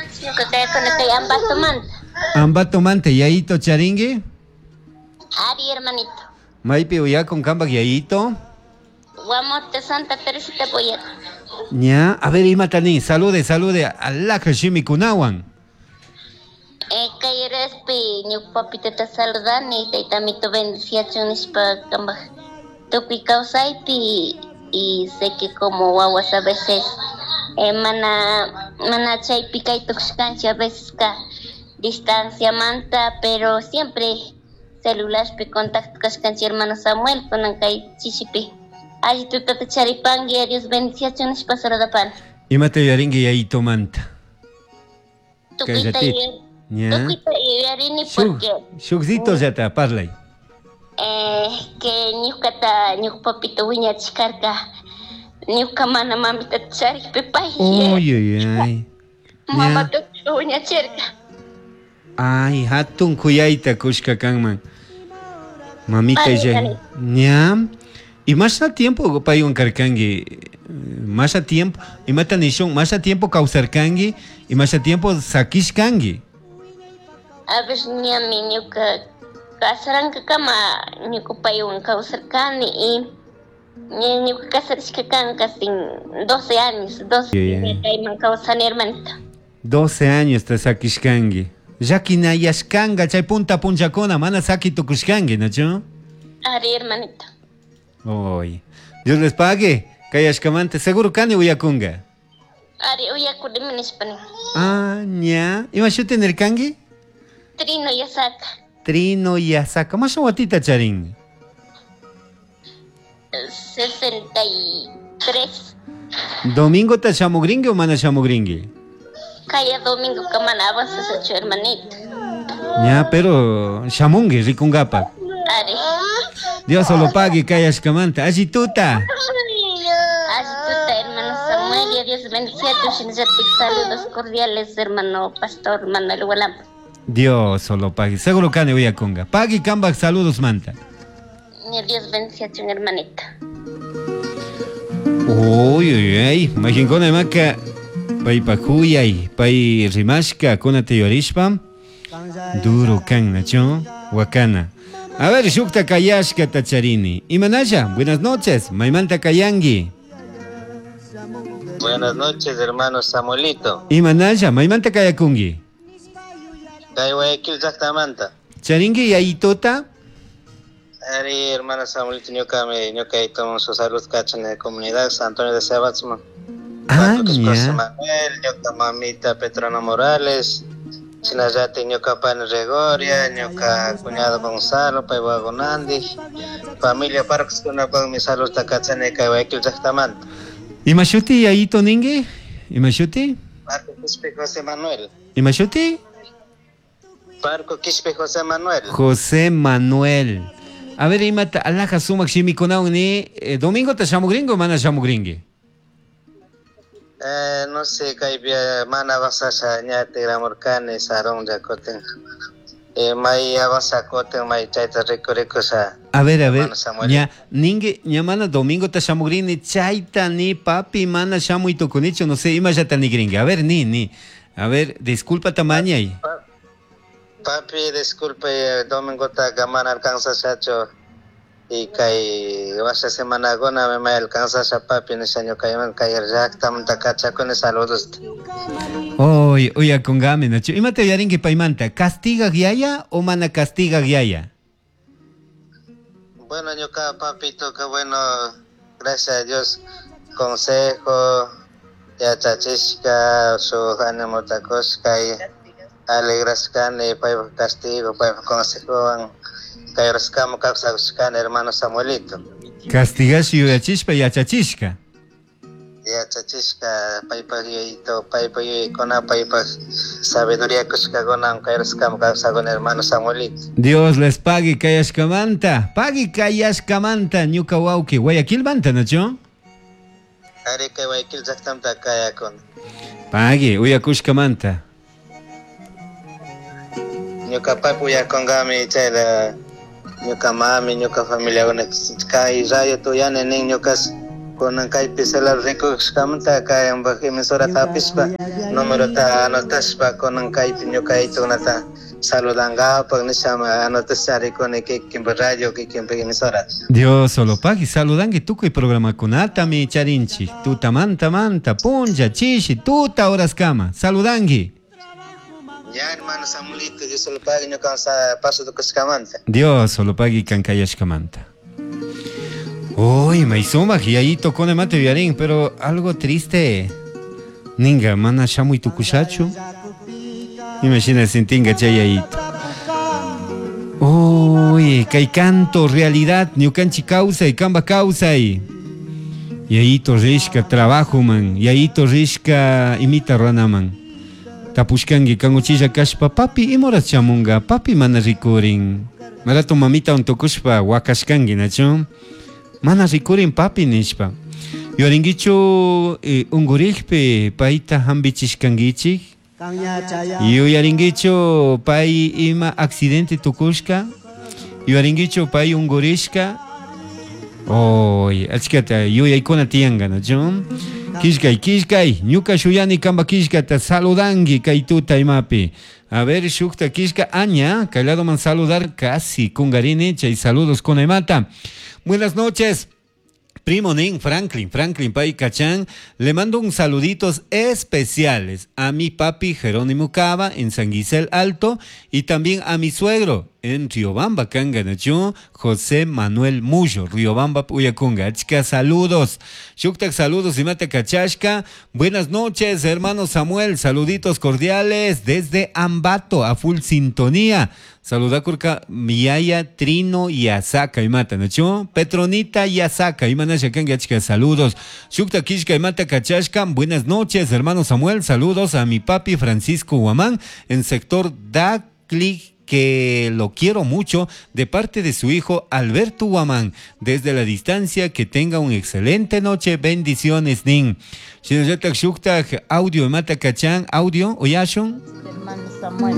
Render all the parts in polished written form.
noches, ñuka kayakuni kay Ambatomanta. Ambatomanta yayito charingi? Ari, hermanito. Maypi uyakun kambak yayito? Guamote Santa Teresita Boyaco. Ña, a ver imata nin, salude, salude alhaja shimikunawan. Kay horaspi ñuka papitata saludani, taytamito bendiciachun nishpa kambaj tukuy kawsaypi, y sé que como wawas a veces mana, mana chaypi kay tukushkanchik, a veces ka distanciamanta, pero siempre celularpi contacto kashkanchik hermano Samuel, kunan kay chishipi. Alli tutata charipangi, Dios bendiciachun nishpa saludapani. Imata yuyarinki yayitomanta? Tukuyta Kay ratito. Ña. tukuyta yuyarini porque Shukzito llata parlay. Que ñukata, ñuka papito wiñachishkarka, ñuka mana mamita charikpi pay Uy, uy, ay. mamata wiñachirka. Ay, hatun kuyayta kushka kanman. Mamita Ay, ya. dale. Ña. Y más a tiempo paywan karkanki, más a tiempo, imata nishun, más a tiempo kawsarkanki y más a tiempo sakishkanki. A ver, ñami ñuka kasarankakama ñuka paywan kawsarkani y ña ñuka kasarishka kan casi 12 años, 12 Yeah, yeah. kayman kawsani, hermanito. 12 años te sakishkanki. Llakinayashkanka chay punta punchakuna mana saki tukushkanki, ¿nachu? Ari, hermanito. Oy. Dios les pague. Kayashkamanta seguro kani uyakunga. Ari, uyakunimi nishpani. Ah, ña. Ima shuti nirkanki? Trino Yasaka. Trino Yasaka. Masha watita charin. 63. Domingo ta shamugringi o mana shamugringi? Kaya domingo kamana avanzasachu, hermanito. Ña, pero shamungi rikungapa. Ari. Dios solo pague kayashkamanta. Alli tuta. Alli tuta, hermano Samuel, y a Dios bendiga tu shinallatik. Saludos cordiales, hermano pastor Manuel Hualampa. Dios solo pague. Seguro kani uyakunga. Pagui kambak saludos manta. Y Dios bendiga tu hermanito. Uy, uy, uy. Majinkuna imaka paypa kuyay, pay rimashka kunata yurishpa duro kan, nacho, wakana. A ver, shukta kayashka tacharini. Imanaya, buenas noches, maymanta kayangi. Buenas noches, hermano Samuelito. Imanaya, maymanta kayakungi. Kay Guayaquil llaqtamanta. Charingi yayitota. Ari, hermano Samuelito, ñuka me, ñuka tomo su salud cacha en la comunidad San Antonio de Sebatzman. Ah, José ña. Manuel, ñuka mamita Petrona Morales, Chinayate ñuka pan Gregoria, ñuka cuñado Gonzalo, pay Wagonandi, familia Parks, kuna con mi salud kachani kay Guayaquil llaqtamanta. Imashuti yayito ningi? Imashuti? Parco Quispe José Manuel. Imashuti? Parco Quispe José Manuel. José Manuel. A ver, imata alhaja sumak shimikunawan ni domingo ta shamugringo o mana shamugringi? No sé, kay mana avanzasha ña tigramurkani sarun llakutin. May avanzakutin, may chayta rikurikusha. A ver, a ver, Hermano Samuel. ña, ningue, ña mana domingo ta shamugrini, chayta ni papi mana shamuy tukunichu, no sé, imallata nigringi. A ver, ni, ni. A ver, disculpa tamañay. Papi, disculpe, domingo ta mana alcanzashachu. Y kay washa semanakuna me may alcanzasha papi nisha ñukayman kay llaqtamanta kachakuni saludos. Oy, uyakungami, nachu. Imata uyarinki paymanta, ¿castigaq yaya o mana castigaq yaya? Bueno, ñuka papito, que bueno, gracias a Dios, consejo, yachachishka, su ánimo takushka y alegrashkani, paypa castigo, paypa consejowan, kayraskama kawsakushkani, hermano Samuelito. Castigash yuyachishpa yachachishka. Yachachishka, paypa yuyayto, paypa yuyaykuna, paypa sabiduría kushkakuna, kayraskama kawsakuni, hermano Samuelito. Dios les pague kayashkamanta, pague kayashkamanta, ñuka wawqi, Guayaquilmanta, nachu? Ari kay Guayaquil llaqtamanta kayakuni. Pague, uyakushkamanta. Ñuka papi uyakunkami chayla ñuka mami, ñuka familiakuna kay radio tuyani nin ñukas Kunan kaypi celular rikushkamanta kayambaj emisorata hapishpa numerota anotashpa kunan kaypi ñuka yayitukunata saludankapak nisha anotasha rikuni kikinpak radio kikinpak emisora. Dios solo pagui saludanki tukuy programakunatami charinchik tutamanta manta punlla chishi tuta horaskama saludanki. Ya hermano Samuelito, Dios solo pagui ñuka paso tukushkamanta. Dios solo pagui kankayashkamanta. Uy, may sumaq yayito kona mate viarín, pero algo triste. Ninga, mana shamuy tukushachu. Imagina sintinga chay yayito. Uy, kay canto realidad, ñukanchi kawsay, kamba kawsay. Yayito rishka trabajo man, yayito rishka imita ranaman. Tapushkanki kanguchilla kashpa, papi imoras chamunga, papi mana rikurin. Marato mamita untukushpa wakashkanki, nachu? Mana rikurin papi nishpa. Yuyarinkichu unkurikpi payta hampichishkankichik? Yuyarinkichu pay ima accidente tukushka? Yuyarinkichu pay unkurishka? Oy, achkata yuyaykuna tiyanka, nachu? Kishkay, kishkay, ñuka shuyani kamba kishkata saludanki kay tuta imapi. A ver, shukta kishka aña, kay ladoman saludar casi kungarini, chay saludos kuna imata. Buenas noches. Primo Nin Franklin, Franklin Pay Cachán, le mando un saluditos especiales a mi papi Jerónimo Cava en San Gisel Alto y también a mi suegro en Riobamba, Canganachu, José Manuel Mullo, Riobamba, Puyacunga. Achka, saludos. Shuktak, saludos y mate Cachashka. Buenas noches, hermano Samuel, saluditos cordiales desde Ambato, a full sintonía. Saluda kurka Miyaya, Trino y Asaka y mata, ¿no? Petronita y Asaka y manasha kanga achka, saludos. Shukta Kishka y mata Cachashka. Buenas noches, hermano Samuel, saludos a mi papi Francisco Guamán en sector Dacli, que lo quiero mucho, de parte de su hijo Alberto Guamán, desde la distancia, que tenga una excelente noche, bendiciones, nin. Shinallatak shuktak audio mata kachan, audio, oyashun. Hermano Samuel,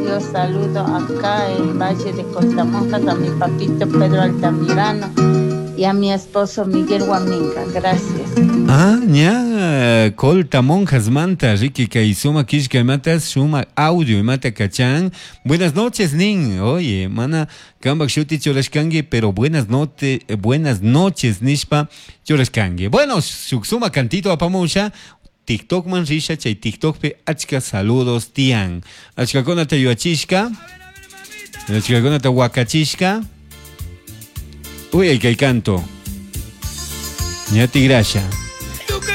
yo saludo acá en Valle de Coltamonjas a mi papito Pedro Altamirano y a mi esposo Miguel Guaminga, gracias. Ah, ña, Colta Monjas Manta, Ricky kay suma kishka mata, suma audio mata kachan. Buenas noches, nin. Oye, mana, kambak shuti churashkangi, pero buenas noches, buenas noches, nishpa churashkangi. Bueno, suma cantito apamusha. TikTok man risha, chay TikTok pe achka saludos tian. Achka kona te yuachishka. Achka kona te wakachishka. Uy, ay, kay canto. Ñati grasha.